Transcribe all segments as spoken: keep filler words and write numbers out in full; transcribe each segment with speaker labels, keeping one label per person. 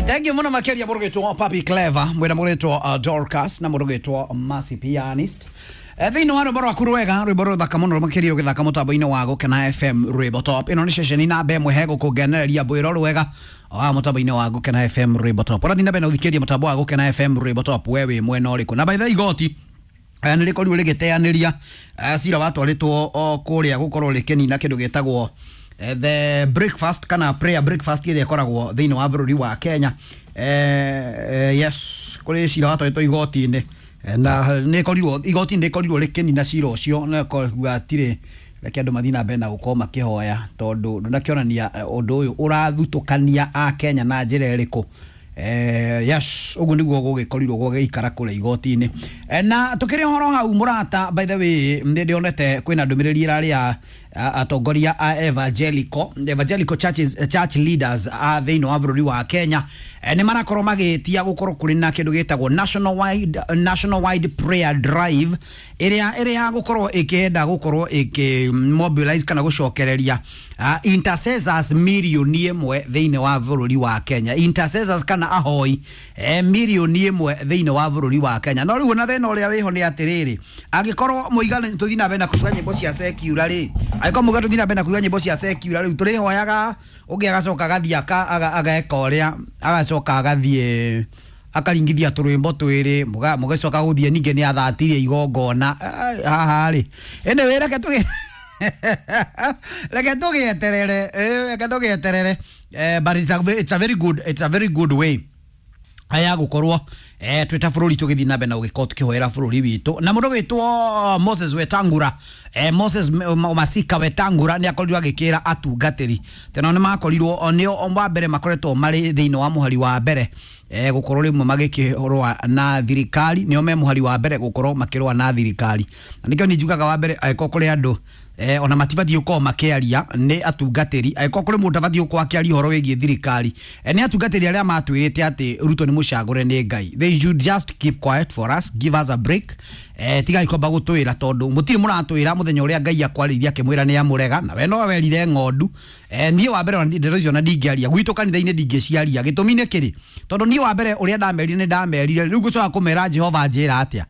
Speaker 1: Alright, thank you muno makeria mũrũgĩtwo Papi Clever, mwĩna mũrũgĩtwo uh, Dorcas na mũrũgĩtwo Mercy Pianist. Eh, thĩinĩ wa rwĩmbo rwaku rwega, rwĩmbo rũthaka mũno makĩria ũgĩthaka mũtambo-inĩ wa Gũkena F M Rwĩmbo Top. Ĩno nĩ ceceni namba ĩmwe he gũkũngenereria mbwĩro rwega wa mũtambo-inĩ wa Gũkena F M Rwĩmbo Top. Ũrathiĩ na mbere na gũthikĩrĩria mũtambo wa Gũkena F M Rwĩmbo Top, we wĩ mwena ũrĩkũ? Na by the way, igoti eh, nĩ rĩkorirwo rĩgĩteanĩria eh, cira watwarĩtwo o kũrĩa gũkorwo rĩkĩnina kĩndũ gĩtagwo eh, the breakfast kana prayer breakfast ĩrĩa ĩkoragwo thĩinĩ wa bũrũri wa Kenya. Eh, eh, yes, kũrĩ cira watwarĩtwo igoti-inĩ Eh, na nĩ ĩkorirwo igoti nĩ rĩkorirwo rĩkĩnina cira ũcio na kuga atirĩ reke andũ mathiĩ na mbere na gũkorwo makĩhoya tondũ ndũnakĩonania eh, ũndũ ũyũ ũrathutũkania a Kenya na njĩra ĩrĩkũ. Eh, yes, ũguo nĩguo gũgĩkorirwo gũgĩikara kũrĩa igoti-inĩ. Eh, na tũkĩrĩ ũhoro hau mũrata, by the way, nĩ ndĩonete kwĩna ndũmĩrĩri ĩrarĩ ya atongoria a evangelical, evangelical churches, church leaders a thĩinĩ wa bũrũri wa Kenya. Eh, nĩ marakorwo magĩtia gũkorwo kũrĩ na kĩndũ gĩtagwo national wide, national wide prayer drive ĩrĩa ĩrĩa ya gũkorwo ĩkĩenda gũkorwo ĩkĩ mobilize kana gũcokereria uh, intercessors mirioni ĩmwe thĩinĩ wa bũrũri wa Kenya, intercessors kana ahoi eh, mirioni ĩmwe thĩinĩ wa bũrũri wa Kenya. No rĩu ona thĩna ũrĩa wĩho nĩ atĩrĩrĩ, angĩkorwo mũigana tũthiĩ na mbere na kũigua nyĩmbo cia secular rĩ, angĩkorwo mũigana tũthiĩ na mbere na kũigua nyĩmbo cia secular rĩu tũrĩhoyaga ũngĩ agacoka agathiĩ aka-, aga-, ageka ũrĩa agacoka agathiĩ akaringithia tũrwĩmbo twĩrĩ mũga-, mũgĩcoka gũthiĩ ningĩ nĩ athatirie igongona. Ah, haha rĩ, anyway, reke tũgĩ-, reke tũgĩeterere, eh, reke tũgĩeterere. Eh, but it's a, it's a very good, it's a very good way ya gũkorwo eh, twĩ ta bũrũri tũgĩthiĩ na mbere na gũgĩkorwo tũkĩhoera bũrũri witũ. Na mũndũ wĩtwo Moses Wetangula, eh, Moses M-, Masika Wetangula nĩ akorirwo agĩkĩra atungatĩri teno nĩ makorirwo o nĩo wa mbere makoretwo marĩ thĩinĩ wa mũhari wa mbere eh, gũkorwo rĩmwe magĩkĩrũa na thirikari, nĩo me mũhari wa mbere gũkorwo makĩrũa na thirikari. Na nĩkĩo niĩ njugaga wa mbere angĩkorwo kũrĩ andũ eh, ona matibatiĩ gũkorwo makĩaria nĩ atungatĩri, angĩkorwo kũrĩ mũndũ abatiĩ gũkorwo akĩaria ũhoro wĩgiĩ thirikari eh, nĩ atungatĩri arĩa matwĩrĩte atĩ Ruto nĩ mũcagũre nĩ Ngai. They should just keep quiet for us, give us a break. Eh, tigai kwamba gũtwĩra tondũ mũtirĩ mũratwĩra mũthenya ũrĩa Ngai akwarĩirie akĩmwĩra nĩ amũrega, na we no werire ng'ondu. Eh, niĩ wa mbere ona ndeto icio ona ndingĩaria gwitũ kanitha-inĩ, ndingĩciaria. Gĩtũmi nĩ kĩrĩ, tondũ niĩ wa mbere ũrĩa ndamerire nĩ ndamerire, rĩu ngũcoka kũmera Jehova njĩra atĩa?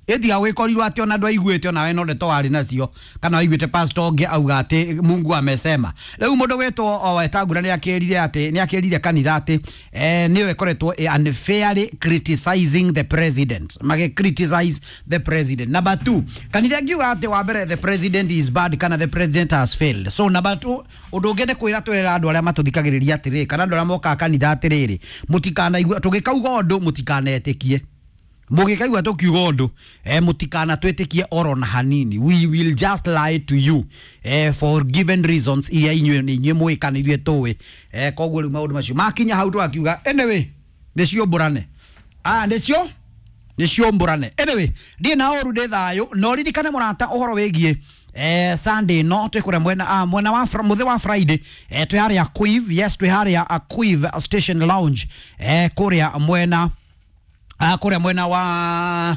Speaker 1: Ĩtiga gwĩkorirwo atĩ ona ndwaiguĩte ona we no ndeto warĩ nacio, kana waiguĩte pastor ũngĩ auga atĩ Mungu amesema. Rĩu mũndũ gwĩtwo o Wetangula nĩ akĩrire atĩ, nĩ akĩrire kanitha atĩ, eh, nĩyo ĩkoretwo ĩ unfairly criticizing the president, magĩ criticize the president. Number two, kanitha ngiuga atĩ wa mbere the president is bad kana the president has failed. So number two, ũndũ ũngĩ nĩ kwĩra twĩra andũ arĩa matũthikagĩrĩria atĩrĩrĩ, kana andũ arĩa mokaga kanitha atĩrĩrĩ, mũtikanaigua tũgĩkauga ũndũ mũtikanetĩkie. Mũgĩkaigua tũkiuga ũndũ, eh, mũtikana twĩtĩkie oro na hanini. We will just lie to you, eh, for given reasons iria inyuĩ nĩ inyuĩ mũĩ kana ithuĩ tũĩ. Eh, koguo rĩu maũndũ macio makinya hau tũgakiuga anyway nĩcio mbũrane. Ah, nĩcio nĩcio mbũrane. Anyway, ndiĩ na ũru, ndĩ thayũ, no ririkane mũrata ũhoro wĩgiĩ eh, Sunday no twĩ kũrĩa mwena, ah, mwena wa fr-, mũthĩ wa Friday, eh, twĩ harĩa Quiv, yes, twĩ harĩa Quiv Station Lounge, eh, kũrĩa mwena, ah, kũrĩa mwena wa,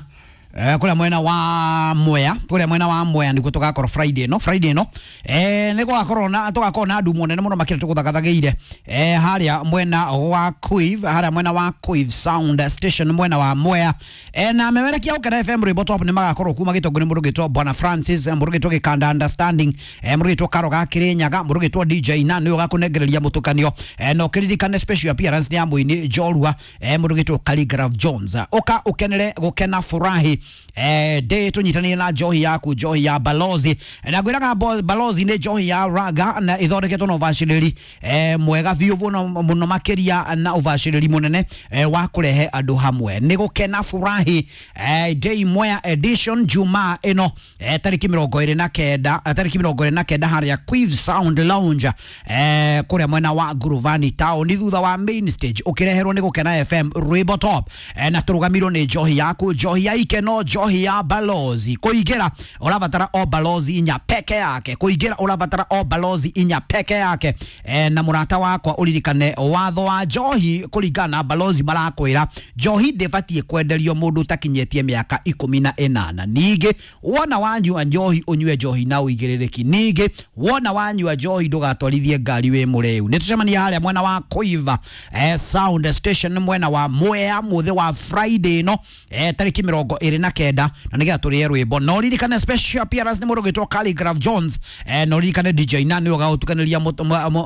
Speaker 1: eh, kũrĩa mwena wa Mwea, kũrĩa mwena wa Mwea nĩkuo tũgakorwo Friday no, Friday no, eh, nĩ gũgakorwo na, tũgakorwo na ndumo nene mũno makĩria tũgũthagathagĩire, eh, harĩa mwena wa Quiv, harĩa mwena wa Quiv Sound Station mwena wa Mwea. Eh, na memerekia Gũkena F M Rwĩmbo Top nĩ magakorwo kuma gĩtongo nĩ mũndũ ũgĩtwo Bwana Francis, mũndũ ũgĩtwo Gĩkanda Understanding, eh, mũndũ ũgĩtwo Karo ga Kĩrĩnyaga, mũndũ ũgĩtwo D J na nĩwe ũgakũnengereria mũtũkanio. Eh, na ũkĩririkane special appearance nĩ ya mũini Njorua, eh, mũndũ ũgĩtwo Khaligraph Jones. Ũka ũkenere gũkena furahi. Eh, ndĩ tũnyitanĩire na njohi yaku, njohi ya Balozi. Eh, na ngwĩraga bo-, Balozi nĩ njohi ya raga na ĩthondeketwo na ũbacĩrĩri, eh, mwega biũ mũno, mũno makĩria na ũbacĩrĩri mũnene, eh, wa kũrehe andũ hamwe. Nĩ gũkena furahi, eh, Day Mwea edition Jumaa ĩno, eh, tarĩki mĩrongo ĩrĩ na kenda, eh, tarĩki mĩrongo ĩrĩ na kenda harĩa Quiv Sound Lounge, eh, kũrĩa mwena wa Nguruvani town thutha wa main stage, ũkĩreherwo nĩ Gũkena F M Rwĩmbo Top. Eh, na tũrũgamirwo nĩ njohi yaku, njohi ya ikeno, njohi njohi ya Balozi. Kũingĩra ũrabatara o Balozi inya peke yake, kũingĩra ũrabatara o Balozi inya peke yake. E, na mũrata wakwa ũririkane watho wa njohi kũringana na Balozi marakwĩra njohi ndĩbatiĩ kwenderio mũndũ ũtakinyĩtie mĩaka ikũmi na ĩnana. Ningĩ wona wanyua njohi ũnyue njohi na ũigĩrĩrĩki. Ningĩ wona wanyua njohi ndũgatwarithie ngari wĩ mũrĩu. Nĩ tũcemania harĩa mwena wa Koiva eh, sound station mwena wa Mwea mũthĩ wa Friday no eh, tarĩki mĩrongo ĩrĩ na kenda na nĩgetha tũrĩe rwĩmbo. No ririkane special appearance nĩ mũndũ ũgwĩtwo Khaligraph Jones, eh, no ririkane D J na nĩwe ũgagũtukanĩria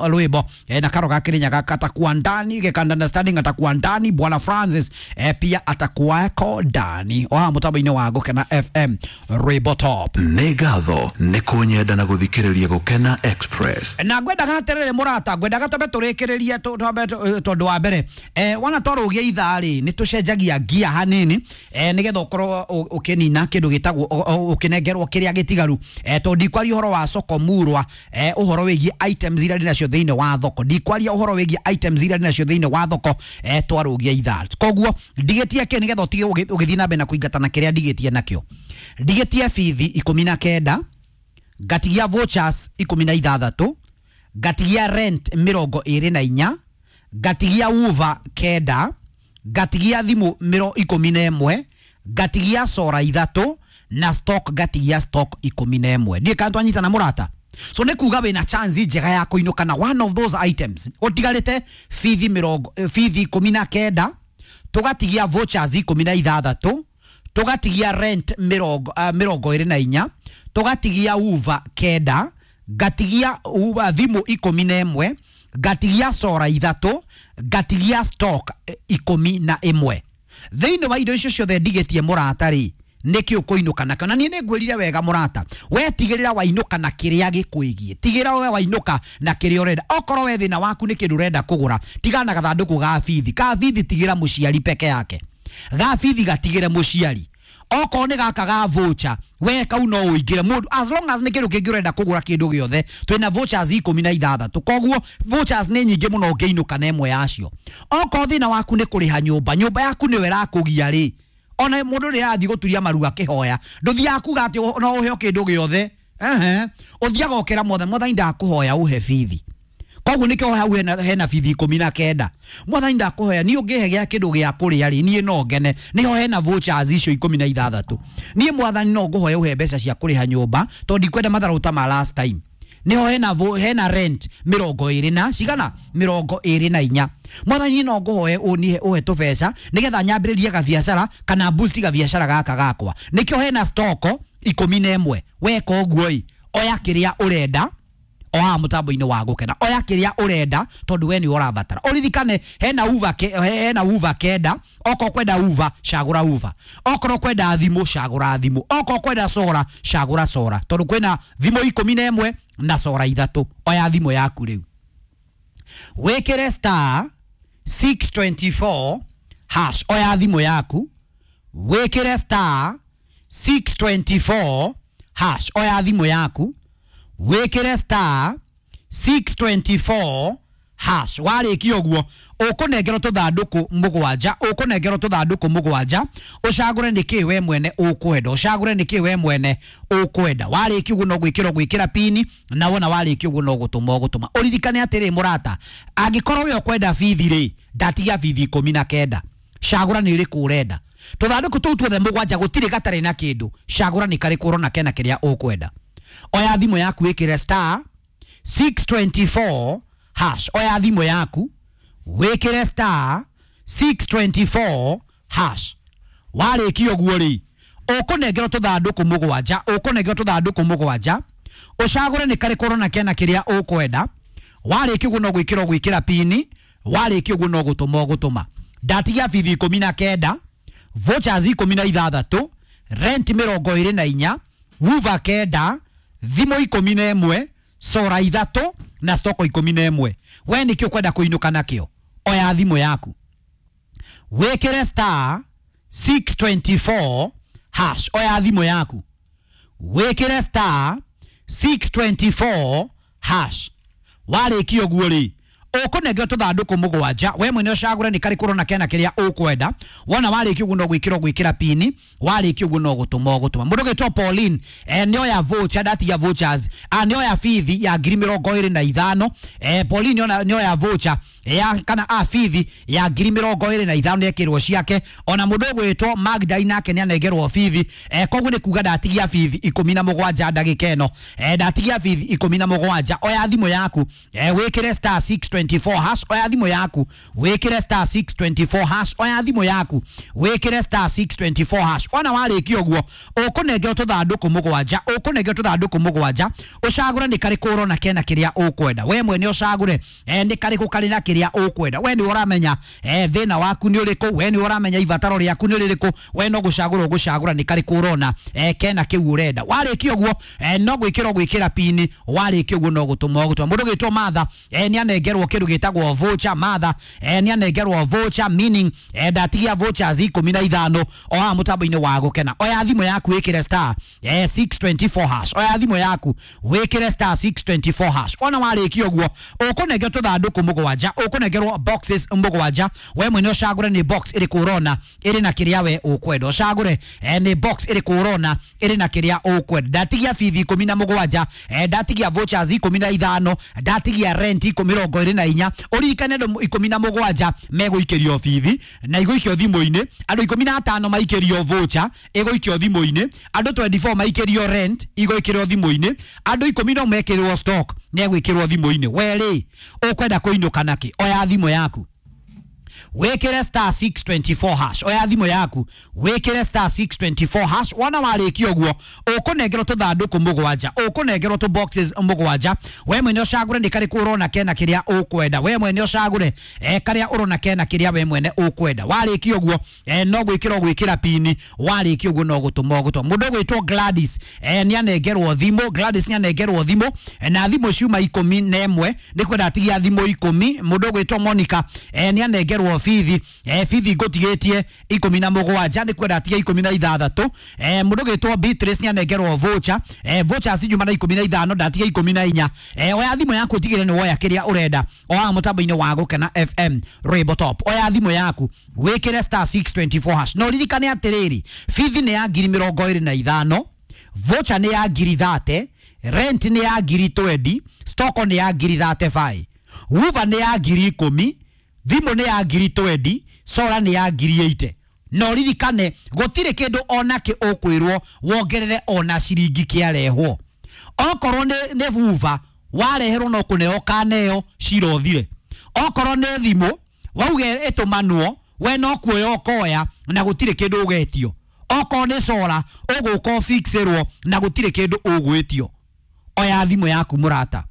Speaker 1: rwĩmbo eh, na karo ga Kĩrĩnyaga katakuwa ndani gekanda understanding atakuwa ndani Bwana Francis eh, pia atakuwako ndani o haha mũtambo-inĩ wa Gũkena F M rwĩmbo top.
Speaker 2: Nĩ ngatho nĩ kũnyenda na gũthikĩrĩria Gũkena Express.
Speaker 1: Na ngwendaga atĩrĩrĩ mũrata, ngwendaga twambe tũrĩkĩrĩrie twambe tondũ wa mbere eh, wana twarũgia ithaa rĩ nĩ tũcenjagia ngia hanini eh, nĩgetha ũkorwo ũkĩnina kĩndũ gĩtagwo ũkĩnengerwo kĩrĩa gĩtigaru eh, tondũ ndikwaria ũhoro wa soko murwa eh, ũhoro wĩgiĩ items iria ndĩnacio thĩinĩ wa thoko, ndikwaria ũhoro wĩgiĩ items iria ndĩnacio thĩinĩ wa thoko eh, twarũgia ithaa. Koguo ndigĩtie kĩ nĩgetha ũtige ũgĩthiĩ na mbere na kũingatana kĩrĩa ndigĩtie nakĩo. Ndigĩtie bithi ikũmi na kenda, ngatigia vouchers ikũmi na ithathatũ, ngatigia rent mĩrongo ĩrĩ na inya, ngatigia uva kenda, ngatigia thimũ mĩro ikũmi na ĩmwe, ngatigia sora ithatũ na stock ngatigia stock ikũmi na ĩmwe. Ndiĩ kana twanyitana mũrata. So nĩ kuga wĩna chance njega ya kũinũka na one of those items. Ũtigarĩte bithi mĩrongo bithi ikũmi na kenda, tũgatigia vouchers ikũmi na ithathatũ, tũgatigia rent mĩrongo uh, mĩrongo ĩrĩ na inya, tũgatigia uva kenda, ngatigia uva thimũ ikũmi na ĩmwe, ngatigia sora ithatũ, ngatigia stock ikũmi na ĩmwe. Thĩinĩ wa indo icio ciothe ndigĩtie mũrata rĩ nĩkĩ ũkũinũka nakĩo? Na niĩ nĩngwĩrire wega mũrata, we tigĩrĩra wainũka na kĩrĩa gĩkwĩgiĩ, tigĩrĩra we wainũka na kĩrĩa ũrenda. Okorwo we thĩna waku nĩ kĩndũ ũrenda kũgũra, tigana na gathandũkũ ga bithi. Ka bithi tigĩra mũciari peke yake, ga bithi gatigĩre mũciari. Okorwo nĩ gaka ga voucher, we kau no ũingĩre mũndũ as long as nĩ kĩndũ kĩngĩ ũrenda kũgũra kĩndũ gĩothe. Twĩna vouchers ikũmi na ithathatũ, koguo vouchers nĩ nyingĩ mũno ũngĩinũka na ĩmwe yacio. Okorwo thĩna waku nĩ kũrĩha nyũmba, nyũmba yaku nĩyo ĩrakũgia rĩ, ona mũndũ rĩrĩa arathiĩ gũturia maru akĩhoya ndũthiaga kuga atĩ no ũheo kĩndũ gĩothe. Ehe, ũthiaga ũkĩra mwathani, mwathani ndakũhoya ũhe bithi. Koguo nĩkĩo hau hena, hena bithi ikũmi na kenda. Mwathani ndakũhoya niĩ ũngĩhe gĩa kĩndũ gĩa kũrĩa rĩ niĩ no ngene. Nĩho hena vouchers icio ikũmi na ithathatũ. Niĩ mwathani no ngũhoya ũhe mbeca cia kũrĩha nyũmba tondũ ndikwenda matharũ ta ma last time. Nĩho hena hena rent mĩrongo ĩrĩ na cigana mĩrongo ĩrĩ na inya. Mwathani no ngũhoe ũnihe ũhe tũbeca nĩgetha nyambĩrĩrie gabiacara kana boost gabiacara gaka gakwa. Nĩkĩo hena stock ikũmi na ĩmwe. Weka ũguo ĩ oya kĩrĩa ũrenda o haha mũtambo-inĩ wa Gũkena, oya kĩrĩa ũrenda tondũ we nĩ ũrabatara. Ũririkane hena uva ke, hena uva kenda. Okorwo kwenda uva cagũra uva, okorwo kwenda thimũ cagũra thimũ, okorwo kwenda sora cagũra sora, tondũ kwĩna thimũ ikũmi na ĩmwe na sora ithatũ. Oya thimũ yaku rĩu wĩkĩre star six twenty four hash. Oya thimũ yaku wĩkĩre star six twenty four hash. Oya thimũ yaku wĩkĩre star six twenty four hash. Warĩkia ũguo ũkũnengerwo tũthandũkũ mũgwanja, ũkũnengerwo tũthandũkũ mũgwanja, ũcagũre nĩkĩ we mwene ũkwenda, ũcagũre nĩkĩ we mwene ũkwenda. Warĩkia ũguo no gwĩkĩra gwĩkĩra pini, na wona warĩkia ũguo no gũtũma ũgũtũma. Ũririkane atĩrĩ mũrata, angĩkorwo we ũkwenda bithi rĩ, ndatigia bithi ikũmi na kenda, cagũra nĩ ĩrĩkũ ũrenda. Tũthandũkũ tũu tuothe mũgwanja gũtirĩ gatarĩ na kĩndũ, cagũra nĩ karĩkũ ũrona kena kĩrĩa ũkwenda. Oya thimũ yaku wĩkĩre star six twenty four hash. Oya thimũ yaku wĩkĩre star six twenty four hash. Warĩkia ũguo rĩ ũkũnengerwo tũthandũkũ mũgwanja, ũkũnengerwo tũthandũkũ mũgwanja, ũcagũre nĩ karĩkũ ũrona kena kĩrĩa ũkwenda. Warĩkia ũguo no gwĩkĩra gwĩkĩra pini, warĩkia ũguo no gũtũma ũgũtũma. Ndatigia bithi ikũmi na kenda, vouchers ikũmi na ithathatũ, rent mĩrongo ĩrĩ na inya, uva kenda, thimũ ikũmi na ĩmwe, sora ithatũ na stoko ikũmi na ĩmwe. We nĩkĩ ũkwenda kũinũka nakĩo? Oya thimũ yaku wĩkĩre star six twenty four hash. Oya thimũ yaku wĩkĩre star six twenty four hash. Warĩkia ũguo rĩ Ũkũnengerwo tũthandũkũ mũgwanja, we mwene ũcagũre nĩ karĩkũ ũrona kena kĩrĩa ũkwenda. Wona warĩkia ũguo no gwĩkĩra ũgwĩkĩra pini, warĩkia ũguo no gũtũma ũgũtũma. Mũndũ ũgwĩtwo Pauline eh, nĩoya voucher, ndatigia vouchers, ah, nĩoya bithi ya ngiri mĩrongo ĩrĩ na ithano. eh, Pauline nĩona- nĩoya voucher ya kana a bithi ya ngiri mĩrongo ĩrĩ na ithano nĩekĩrwo ciake. Ona mũndũ ũgwĩtwo Magdalene nake nĩanengerwo bithi, eh, koguo nĩ kuga ndatigia bithi ikũmi na mũgwanja ndagĩka ĩno, eh, ndatigia bithi ikũmi na mũgwanja. Oya thimũ yaku, eh, wĩkĩre star six twenty four hash. Oya thimũ yaku wĩkĩre star six twenty four hash. Oya thimũ yaku wĩkĩre star six twenty four hash. Wona warĩkia ũguo ũkũnengerwo tũthandũkũ mũgwanja, ũkũnengerwo tũthandũkũ mũgwanja, ũcagũre nĩ karĩkũ ũrona kena kĩrĩa ũkwenda. We mwene ũcagũre eh, nĩ karĩkũ karĩ na kĩrĩa ũkwenda. We nĩ ũramenya eh, thĩna waku nĩ ũrĩkũ, we nĩ ũramenya ibataro rĩaku nĩ rĩrĩkũ, we no gũcagũra ũgũcagũra nĩ karĩkũ ũrona eh, kena kĩu ũrenda. Warĩkia ũguo eh, no gwĩkĩra ũgwĩkĩra pini, warĩkia ũguo no gũtũma ũgũtũma. Mũndũ ũgwĩtwo Martha eh, nĩ anengerwo kĩndũ gĩtagwo voucher. Martha eh, nĩ anengerwo voucher meaning eh, ndatigia vouchers ikũmi na ithano o haha mũtambo-inĩ wa gũkena. Oya thimũ yaku wĩkĩre star eh, six twenty four hash. Oya thimũ yaku wĩkĩre star six twenty four hash. Wona warĩkia ũguo ũkũnengerwo tũthandũkũ mũgwanja, ũkũnengerwo boxes mũgwanja, we mwene ũcagũre nĩ box ĩrĩkũ ũrona ĩrĩ na kĩrĩa we ũkwenda. Ũcagũre eh, nĩ box ĩrĩkũ ũrona ĩrĩ na kĩrĩa ũkwenda. Ndatigia bithi ikũmi na mũgwanja, eh, ndatigia vouchers ikũmi na ithano, ndatigia rent ikũmi mĩrongo ĩrĩ na inya. Ũririkane andũ ikũmi na mũgwanja megũikĩrio bithi na igũikio thimũ-inĩ, andũ ikũmi na atano maikĩrio voucher ĩgũikio thimũ-inĩ, andũ twenty four maikĩrio rent igũikĩrio thimũ-inĩ, andũ ikũmi no mekĩrwo stock negwĩkĩrwo thimũ-inĩ. We rĩ ũkwenda kũinũka nakĩ? Oya thimũ yaku wĩkĩre star six twenty four hash. Oya thimũ yaku wĩkĩre star six twenty four hash. Wona warĩkia ũguo ũkũnengerwo tũthandũkũ mũgwanja, ũkũnengerwo tũ boxes mũgwanja, we mwene ũcagũre nĩ karĩkũ ũrona kena kĩrĩa ũkwenda. We mwene ũcagũre eh, karĩa ũrona kena kĩrĩa we mwene ũkwenda. Warĩkia ũguo eh, no gwĩkĩra ũgwĩkĩra pini, warĩkia ũguo no gũtũma ũgũtũma. Mũndũ ũgwĩtwo Gladys eh, nĩ anengerwo thimũ. Gladys nĩ anengerwo thimũ eh, na thimũ ciuma ikũmi na ĩmwe, nĩ kwenda atigia thimũ ikũmi. Mũndũ ũgwĩtwo Monica eh, nĩ anengerwo bithi eh, bithi ngũtigĩtie ikũmi na mũgwanja, nĩ kwenda atigia ikũmi na ithathatũ. eh, mũndũ ũgwĩtwo Beatrice nĩ anengerwo voucher, eh, voucher cinjuma na ikũmi na ithano, ndatigia ikũmi na inya. eh, oya thimũ yaku ũtigĩre nĩ woya kĩrĩa ũrenda o haha mũtambo-inĩ wa Gũkena F M Rainbow Top. Oya thimũ yaku wĩkĩre star six twenty four hash. Na ũririkane atĩrĩrĩ, bithi nĩ ya ngiri mĩrongo ĩrĩ na ithano, voucher nĩ ya ngiri thate, rent nĩ ya ngiri twenty, stock nĩ ya ngiri thate five, wuva nĩ ya ngiri ikũmi, thimũ nĩ ya ngiri twenty, sora nĩ ya ngiri eighty. Na ũririkane gũtirĩ kĩndũ onakĩ ũkwĩrwo wongerere ona ciringi kĩarehwo. Okorwo nĩ, nĩ vuva wareherwo no kũneo kaneo cirothire. Okorwo nĩ thimũ wauge ĩtũmanwo we no kuoya ũkoya na gũtirĩ kĩndũ ũgetio. Okorwo nĩ sora ũgũka ũfixĩrwo na gũtirĩ kĩndũ ũgwĩtio. Oya thimũ yaku mũrata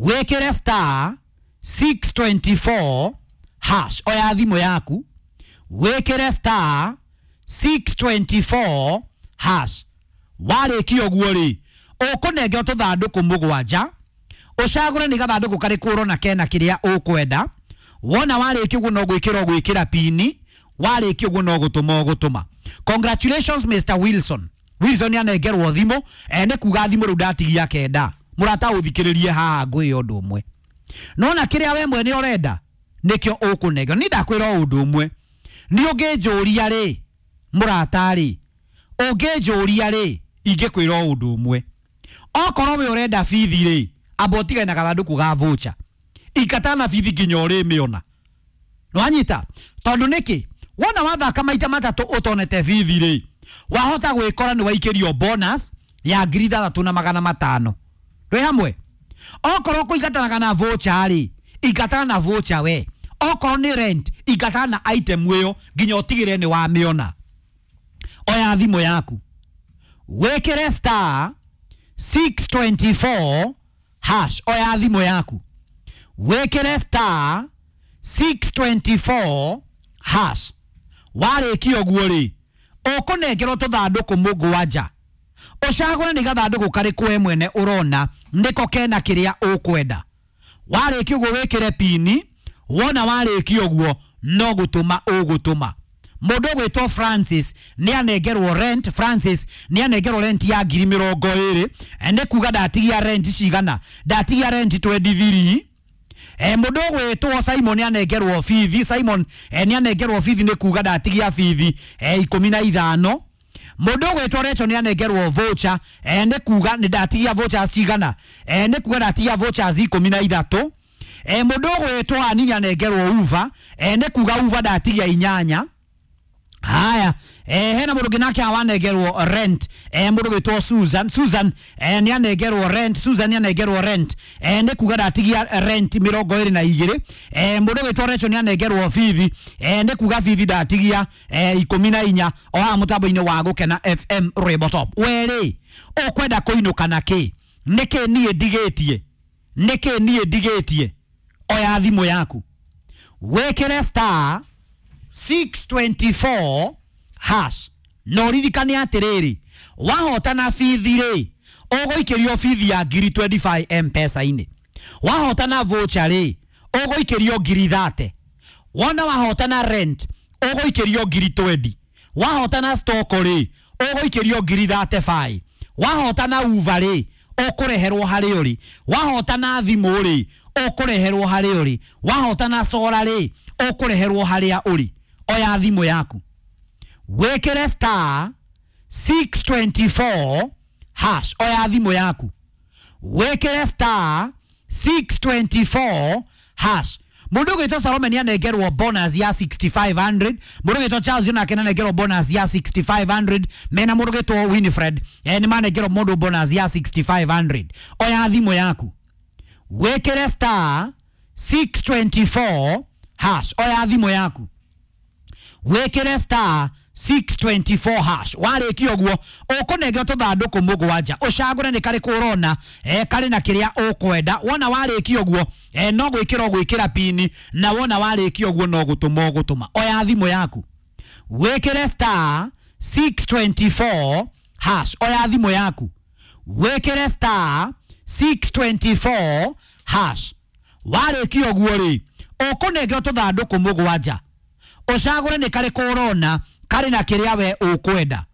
Speaker 1: wĩkĩre star six twenty four hash. Oya thimũ yaku wĩkĩre star six twenty four hash. Warĩkia ũguo rĩ ũkũnengerwo tũthandũkũ mũgwanja, ũcagũre nĩ gathandũkũ karĩkũ ũrona kena kĩrĩa ũkwenda. Wona warĩkia ũguo no gwĩkĩra ũgwĩkĩra pini, warĩkia ũguo no gũtũma ũgũtũma. Congratulations Mister Wilson. Wilson nĩ anengerwo thimũ, eh, nĩ kuga thimũ rĩu ndatigia kenda. Mũrata ũthikĩrĩrie haha ngwĩre ũndũ ũmwe. Nona kĩrĩa we mwene ũrenda nĩkĩo ũkũnengerwo. Niĩ ndakwĩra o ũndũ ũmwe, nĩ ũngĩnjũria rĩ mũrata rĩ, ũngĩnjũria rĩ ingĩkwĩra o ũndũ ũmwe, okorwo we ũrenda bithi rĩ, amba ũtigane na gathandũkũ ga voucher, ikata na bithi nginya ũrĩmĩona. Nĩwanyita? Tondũ nĩkĩ? Wona wathaka maita matatũ ũtonete bithi rĩ, wahota gwĩkora nĩ waikĩrio bonus ya ngiri ithathatũ na magana matano. Twĩ hamwe? Okorwo kũingatanaga na voucher rĩ, ingatana na voucher we. Okorwo nĩ rent, ingatana na item ĩyo nginya ũtigĩrĩre nĩ wamĩona. Oya thimũ yaku wĩkĩre star six twenty four hash. Oya thimũ yaku wĩkĩre star six twenty four hash. Warĩkia ũguo rĩ ũkũnengerwo tũthandũkũ mũgwanja, ũcagũre nĩ gathandũkũ karĩkũ we mwene ũrona nĩko kena kĩrĩa ũkwenda. Warĩkia ũguo wĩkĩre pini, wona warĩkia ũguo no gũtũma ũgũtũma. Mũndũ ũgwĩtwo Francis nĩ anengerwo rent. Francis nĩ anengerwo rent ya ngiri mĩrongo ĩrĩ, nĩ kuga ndatigia rent cigana, ndatigia rent twenty three. Eh mundu gwitwo Simon anengerwo bithi. Simon eh, ni anengerwo bithi ni kuga ndatigia bithi eh, ikumi na ithano. Mundu gwitwo Rachel ni anengerwo voucher eh, ni kuga ni ndatigia voucher cigana eh, ni kuga ndatigia vouchers ikumi na ithatu. Eh, mundu gwitwo Ani anengerwo uva eh, ni kuga uva ndatigia inyanya. Haya, eh, hena mundu nake awanengerwo rent eh, mundu gwitwo Susan. Susan eh, ni anengerwo rent. Susan ni anengerwo rent eh, ni kuga ndatigia rent mirongo iri na igiri. Eh, mundu gwitwo Rachel ni anengerwo bithi eh, ni kuga bithi ndatigia eh, ikumi na inya o haha mutambo-ini wa Gukena F M Rwimbo Top. Weri ukwenda kuinuka na ki? Niki nie ndigitie? Niki nie ndigitie? Oya thimu yaku wikire star six twenty-four hash no ririkane atiriri wahotana bithi ri uguikirio bithi ya ngiri twenty-five M-Pesa-ini. Wahotana voucher ri uguikirio ngiri thirty. Wona wahotana rent uguikirio ngiri twenty. Wahotana stock ri uguikirio ngiri thirty-five. Wahotana uva ri ukureherwo hari uri. Wahotana thimu ri ukureherwo hari uri. Wahotana sora ri ukureherwo haria uri. Oya thimu yaku wikire star six twenty-four hash. Oya thimu yaku wikire star six twenty-four hash. Mundu gwitwo Salome ni anengerwo bonus ya sixty-five hundred. Mundu gwitwo Charles nake anengerwo bonus ya sixty-five hundred. Mena mundu gwitwo Winifred eh, ni manengerwo mundu bonus ya sixty-five hundred. Oya thimu yaku wikire star six twenty-four hash. Oya thimu yaku wikire star six twenty-four hash. Warĩkia ũguo ũkũnengera tũthandũkũ mũgwanja ũcagũre nĩ karĩkũ ũrona eh, karĩ na kĩrĩa ũkwenda. Wona warĩkia ũguo eh, no gwĩkĩra ũgwĩkĩra pini, na wona warĩkia ũguo no gũtũma ũgũtũma. Oya thimũ yaku wĩkĩre star six twenty-four hash. Oya thimũ yaku wĩkĩre star six twenty-four hash. Warĩkia ũguo rĩ ũkũnengera tũthandũkũ mũgwanja ũcagũre nĩ karĩkũ ũrona karĩ na kĩrĩa we ũkwenda.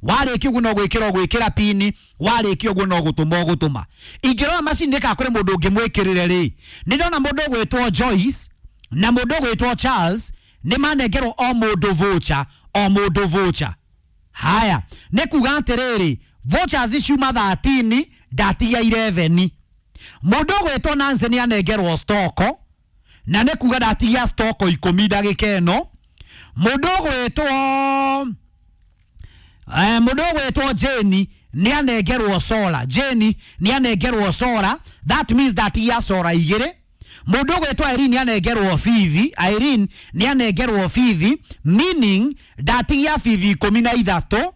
Speaker 1: Warĩkia ũguo no gwĩkĩra ũgwĩkĩra pini, warĩkia ũguo no gũtũma ũgũtũma. Ingĩrora macini nĩ kana kũrĩ mũndũ ũngĩmwĩkĩrĩre rĩ, nĩ ndona mũndũ ũgwĩtwo Joyce na mũndũ ũgwĩtwo Charles nĩ manengerwo o mũndũ voucher, o mũndũ voucher. Haya, nĩ kuga atĩrĩrĩ, vouchers ciuma thirteen ndatigia eleven. Mũndũ ũgwĩtwo Nancy nĩ anengerwo stoko na nĩ kuga ndatigia stoko ikũmi ndagĩka ĩno. Mũndũ ũgwĩtwo eh, mũndũ ũgwĩtwo Jane nĩ anengerwo solar. Jane nĩ anengerwo solar, that means that ya solar igĩrĩ. Mũndũ ũgwĩtwo Irene nĩ anengerwo bithi. Irene nĩ anengerwo bithi, meaning ndatigia bithi ikũmi na ithatũ.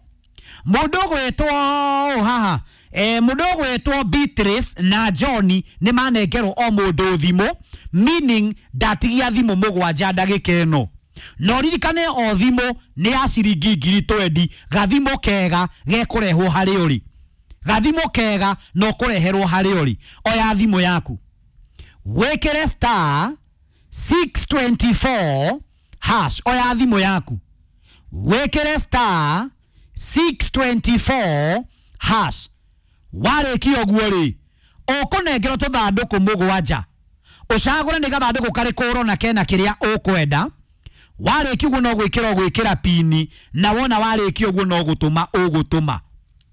Speaker 1: Mũndũ ũgwĩtwo haha eh, mũndũ ũgwĩtwo Beatrice na John nĩ manengerwo o mũndũ thimũ, meaning ndatigia thimũ mũgwanja ndagĩka ĩno. No ririkane o thimũ nĩ ya ciringi ngiri twenty. Gathimũ kega gekũrehwo harĩ ũrĩ, gathimũ kega no kũreherwo harĩ ũrĩ. Oya thimũ yaku wĩkĩre star six twenty-four hash. Oya thimũ yaku wĩkĩre star six twenty-four hash. Warĩkia ũguo rĩ ũkũnengerwo tũthandũkũ mũgwanja ũcagũre nĩ gathandũkũ karĩkũ ũrona kena kĩrĩa ũkwenda. Warĩkia ũguo no gwĩkĩra ũgwĩkĩra pini, na wona warĩkia ũguo no gũtũma ũgũtũma.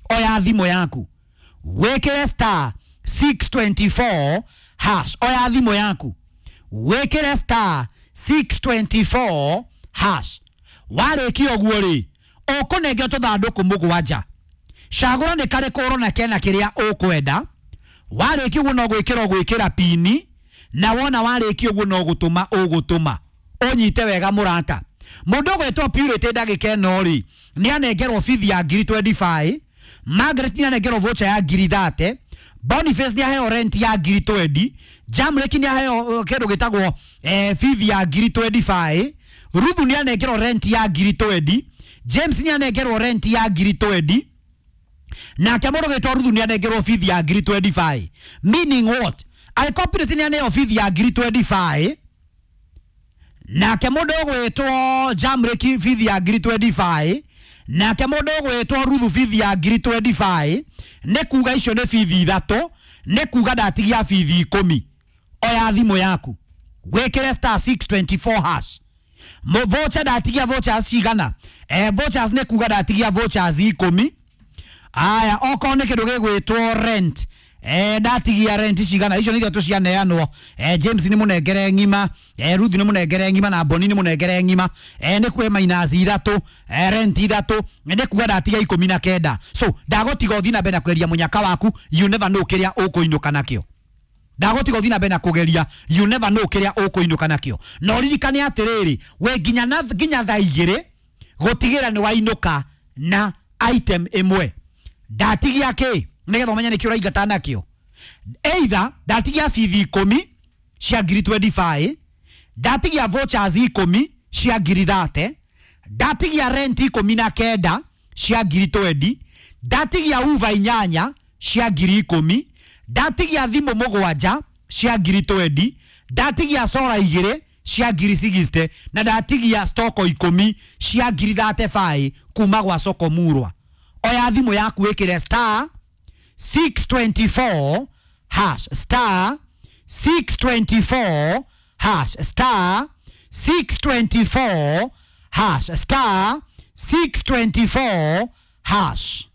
Speaker 1: Oya thimũ yaku wĩkĩre star six twenty-four hash. Oya thimũ yaku wĩkĩre star six twenty-four hash. Warĩkia ũguo rĩ ũkũnengerwo tũthandũkũ mũgwanja cagũra nĩ karĩkũ ũrona kena kĩrĩa ũkwenda. Warĩkia ũguo no gwĩkĩra ũgwĩkĩra pini, na wona warĩkia ũguo no gũtũma ũgũtũma. Ũnyite wega mũrata. Mũndũ ũgwĩtwo Purity ndagĩka ĩno rĩ nĩ anengerwo bithi ya ngiri twenty-five. Margaret nĩ anengerwo voucher ya ngiri thirty. Boniface nĩ aheo rent ya ngiri twenty. Jamrek nĩ aheo kĩndũ gĩtagwo eh, bithi ya ngiri twenty-five. Ruthu nĩ anengerwo rent ya ngiri twenty. James nĩ anengerwo rent ya ngiri twenty. Nake mũndũ ũgwĩtwo Ruthu nĩ anengerwo bithi ya ngiri twenty-five. Meaning what? Angĩkorwo Purity nĩ aneo bithi ya ngiri twenty-five, nake mũndũ ũgwĩtwo Jamrek bithi ya ngiri twenty-five, nake mũndũ ũgwĩtwo Ruthu bithi ya ngiri twenty-five, nĩ kuga icio nĩ bithi ithatũ, nĩ kuga ndatigia bithi ikũmi. Oya thimũ yaku Wĩkĩre star six twenty-four hash. Mo voucher ndatigia vouchers cigana? Eh, vouchers nĩ kuga ndatigia vouchers ikũmi. Aya, okorwo nĩ kĩndũ gĩgwĩtwo rent, eh, ndatigia rent cigana? Icio nĩ ithatũ cianeanwo. Eh, James nĩ mũnengere ng'ima, eh, Ruth nĩ mũnengere ng'ima na Boni nĩ mũnengere ng'ima. Eh, nĩ kwĩ minus ithatũ, eh, rent ithatũ, nĩ kuga ndatigia ikũmi na kenda. So ndagũtiga ũthiĩ na mbere na kweria mũnyaka waku, you never know kĩrĩa ũkũinũka nakĩo. Ndagũtiga ũthiĩ na mbere na kũgeria, you never know kĩrĩa ũkũinũka nakĩo. Na ũririkane atĩrĩrĩ, we nginya na nginya thaa igĩrĩ gũtigĩra nĩ wainũka na item ĩmwe. Ndatigia kĩ nĩgetha ũmenye nĩkĩ ũraingata nakĩo. Either ndatigia bithi ikũmi cia ngiri twenty-five, ndatigia vouchers ikũmi cia ngiri thirty, ndatigia rent ikũmi na kenda cia ngiri twenty, ndatigia uva inyanya cia ngiri ikũmi, ndatigia thimũ mũgwanja cia ngiri twenty, ndatigia sora igĩrĩ cia ngiri sixty, na ndatigia stoko ikũmi cia ngiri thirty-five kuma gwa Soko Murwa. Oya thimũ yaku ĩkĩre star six twenty-four hash, star six twenty-four hash, star six twenty-four hash, star six twenty-four hash.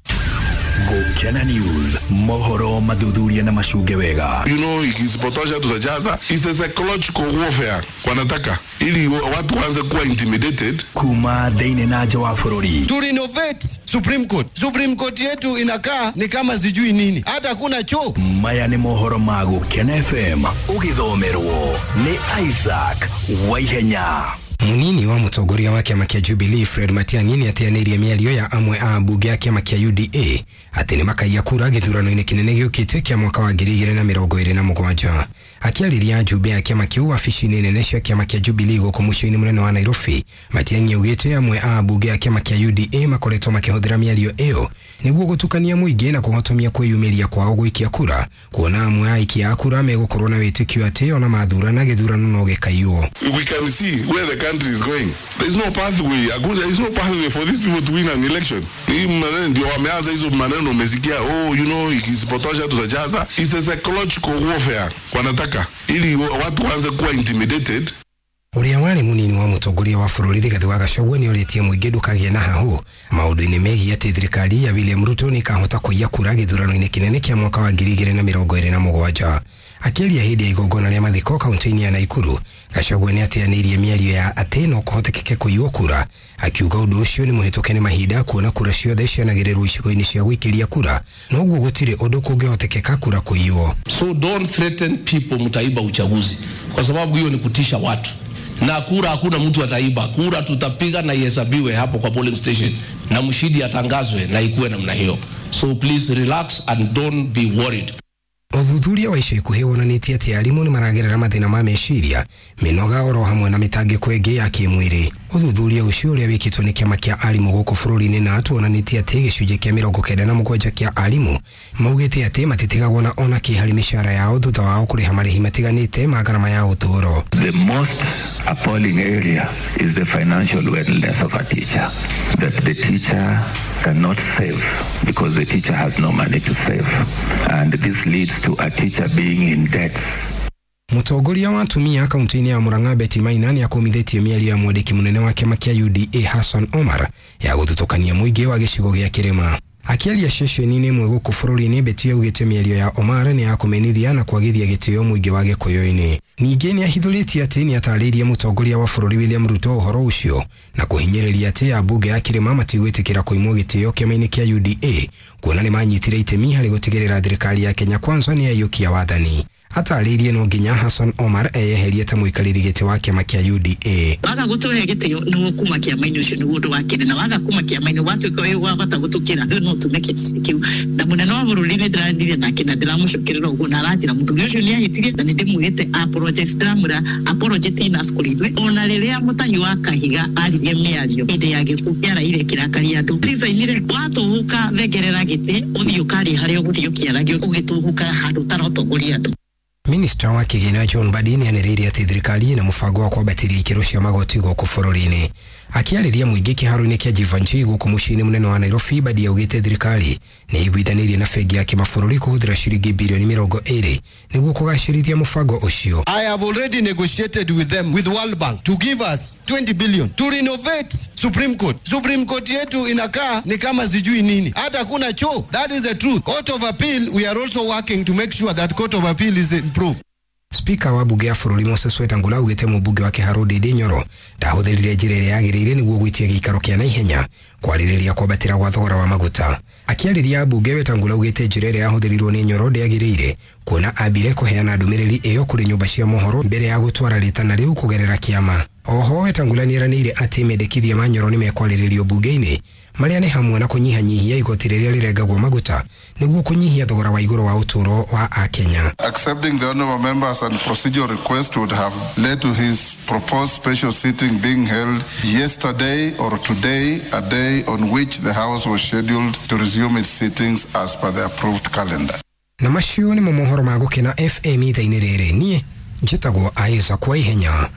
Speaker 2: Gukena News, mohoro mathuthuria na macunge wega.
Speaker 3: You know, ikisipotosha tutajaza. It's a psychological warfare wanataka ili watu waanze kuwa intimidated.
Speaker 2: Kuma thĩinĩ na nja wa bũrũri.
Speaker 4: To renovate Supreme Court. Supreme Court yetu inakaa ni kama sijui nini, hata kuna choo.
Speaker 2: Maya nĩ mohoro ma Gukena F M ũgĩthomerwo nĩ Isaac Waihenya.
Speaker 5: Munini wa mũtongoria wa kĩama kĩa Jubilee Fred Matiang'i nĩateanĩirie mĩario ya amwe a ambunge a kĩama kĩa U D A atĩ nĩmakaiya kura gĩthurano-inĩ kĩnene gĩũkĩte kĩa mwaka wa ngiri igĩrĩ na mĩrongo ĩrĩ na mũgwanja. Akĩarĩria njumbe ya kĩama kĩu wabici-inĩ nene cia kĩama kĩa Jubilee gũkũ mũciĩ-inĩ mũnene wa Nairobi, Matiang'i augĩte amwe a ambunge a kĩama kĩa U D A makoretwo makĩhũthĩra mĩario ĩyo nĩguo gũtukania mũingĩ na kũhotomia kwĩyumĩria kwao gũikia kura, kuona amwe a aikia a kura megũkorwo na wĩtĩkio atĩ ona mathurana gĩthurano no gĩkaiywo.
Speaker 3: We can see where the country is going. There is no pathway. There is no pathway for these people to win an election. Hii maneno ndio wameanza hizo maneno umesikia, oh, you know, ikisipotosha tutajaza. It's a psychological warfare wanataka ili watu waanze kuwa intimidated.
Speaker 5: Ũrĩa warĩ mũnini wa mũtongoria wa bũrũri Rigathĩ wa Gachagua nĩorĩtie mũingĩ ndũkagĩe na hahũ maũndũ-inĩ megiĩ atĩ thirikari ya William Ruto nĩĩkahota kũiya kura gĩthurano-inĩ kĩnene kĩa mwaka wa ngiri igĩrĩ na mĩrongo ĩrĩ na mũgwanja. Akĩaria hĩndĩ ya igongona rĩa mathiko kaunti-inĩ ya Nakuru, Gachagua nĩateanĩirie mĩario ya atĩ no kũhotekeke kũiywo kura, akiuga ũndũ ũcio nĩ mũhĩtũke nĩ mahinda kuona kura ciothe cianagĩrĩrwo icigo-inĩ cia gũikĩria kura, noguo gũtirĩ ũndũ kũngĩhotekeka kura kũiywo.
Speaker 6: So don't threaten people mtaiba uchaguzi, kwa sababu hiyo ni kutisha watu. Na kura hakuna mtu ataiba, kura tutapiga na ihesabiwe hapo kwa polling station na mshindi atangazwe na ikuwe namna hiyo. So please relax and don't be worried.
Speaker 5: Ũthuthuria wa ica ikuhĩ wonanĩtie atĩ arimũ nĩ maragerera mathĩna ma meciria, mĩnoga oro hamwe na mĩtangĩko ĩngĩ ya kĩmwĩrĩ. Ũthuthuria ũcio ũrĩa wĩkĩtwo nĩ kĩama kĩa arimũ gũkũ bũrũri-inĩ na tuonanĩtie atĩ gĩcunjĩ kĩa mĩrongo kenda na mũgwanja kĩa arimũ maugĩte atĩ matitigagwo na ona kĩ harĩ mĩcara yao thutha wao kũrĩha marĩhi matiganĩte ma ngarama ya ũtũũro.
Speaker 7: The most appalling area is the financial wellness of a teacher, that the teacher cannot save because the teacher has no money to save, and this leads to a teacher being in debt.
Speaker 5: Mũtongoria wa atumia kaunti-inĩ ya Murang'a Betty Maina nĩakũmithĩtie mĩario ya mwandĩki mũnene wa kĩama kĩa U D A Hassan Omar ya gũthutũkania mũingĩ wa gĩcigo gĩa kĩrĩma. Akĩaria ceceni-inĩ ĩmwe gũkũ bũrũri-inĩ, Betty augĩte mĩario ya Omar nĩ ya kũmenithia na kwagithia gĩtĩo mũingĩ wa Gĩkũyũ-inĩ. Ningĩ nĩahithũrĩtie atĩ nĩatarĩirie mũtongoria wa bũrũri William Ruto ũhoro ũcio na kũhinyĩrĩria atĩ ambunge a kĩrĩma matigwĩtĩkĩra kũimwo gĩtĩo kĩama-inĩ kĩa U D A kuona nĩmanyitire itemi harĩ gũtigĩrĩra thirikari ya Kenya Kwanza nĩyaiyũkia wathani. Atarĩirie no nginya Hassan Omar eyeherie ta mũikarĩri gĩtĩ wa kĩama kĩa U D A.
Speaker 8: Waga gũtũhe gĩtĩo nĩguo kuma kĩama-inĩ ũcio nĩguo ũndũ wa kerĩ, na waga kuma kĩama-inĩ watuĩka wĩ wa bata gũtũkĩra rĩu no tume kĩtĩ kĩu. Na mũnene wa bũrũri nĩ ndĩraririe nake na ndĩramũcokerera ũguo na aranjĩra mũthuri ũcio nĩ ahĩtirie na nĩ ndĩmwĩrĩte apologize, ndĩramwĩra apology enough kũrĩ ithuĩ. Ona rĩrĩa Mũtanyi wa Kahiga aririe mĩario hĩndĩ ya gĩkuũ kĩa Raila kĩrakaria andũ, resign-ire, watũhũka thengerera gĩtĩ ũthiĩ ũkaria harĩa ũgũthiĩ ũkĩaragia ũgĩtũhũka handũ ũtaratongoria andũ.
Speaker 5: Minista wa kĩgĩna John Mbadi nĩanĩrĩire atĩ thirikari ĩna mũbango wa kwambatĩria ikĩro cia magoti gũkũ bũrũri-inĩ. Akĩarĩria mũingĩ kĩharo-inĩ kĩa Jeevanjee gũkũ mũciĩ-inĩ mũnene wa Nairobi, Mbadi augĩte thirikari nĩ ĩiguithanĩirie na bengi ya kĩmabũrũri kũhũthĩra ciringi birioni mĩrongo ĩrĩ nĩguo kũgacĩrithia mũbango ũcio.
Speaker 4: I have already negotiated with them, with World Bank, to give us twenty billion to renovate Supreme Court. Supreme Court yetu inakaa ni kama sijui nini, hata kuna choo. That is the truth. Court of Appeal, we are also working to make sure that Court of Appeal is improved.
Speaker 5: Spika wa bunge ya bũrũri Moses Wetangula augĩte mũmbunge wa Kĩharũ Ndindi Nyoro ndahũthĩrire njĩra ĩrĩa yagĩrĩire nĩguo gwĩtia gĩikaro kĩa naihenya kwarĩrĩria kwambatĩra gwa thogora wa maguta. Akĩarĩria ambunge, Wetangula augĩte njĩra ĩrĩa yahũthĩrirwo nĩ Nyoro ndĩagĩrĩire, kuona ambire kũheana ndũmĩrĩri ĩyo kũrĩ nyũmba cia mohoro mbere ya gũtwara rĩtana rĩu kũgerera kĩama. Oho Wetangula nĩeranĩire atĩ mendekithia ma Nyoro nĩmekwarĩrĩrio bunge-inĩ, marĩa nĩ hamwe na kũnyihanyihia igoti rĩrĩa rĩrengagwo maguta nĩguo kũnyihia thogora wa igũrũ wa ũtũũro wa Akenya.
Speaker 3: Accepting the honorable members and procedural request would have led to his proposed special sitting being held yesterday or today, a day on which the House was scheduled to resume its sittings as per the approved calendar.
Speaker 5: Na macio nĩmo mohoro ma Gũkena F M ithaa-inĩ rĩrĩ. Niĩ njĩtagwo Isaac Waihenya.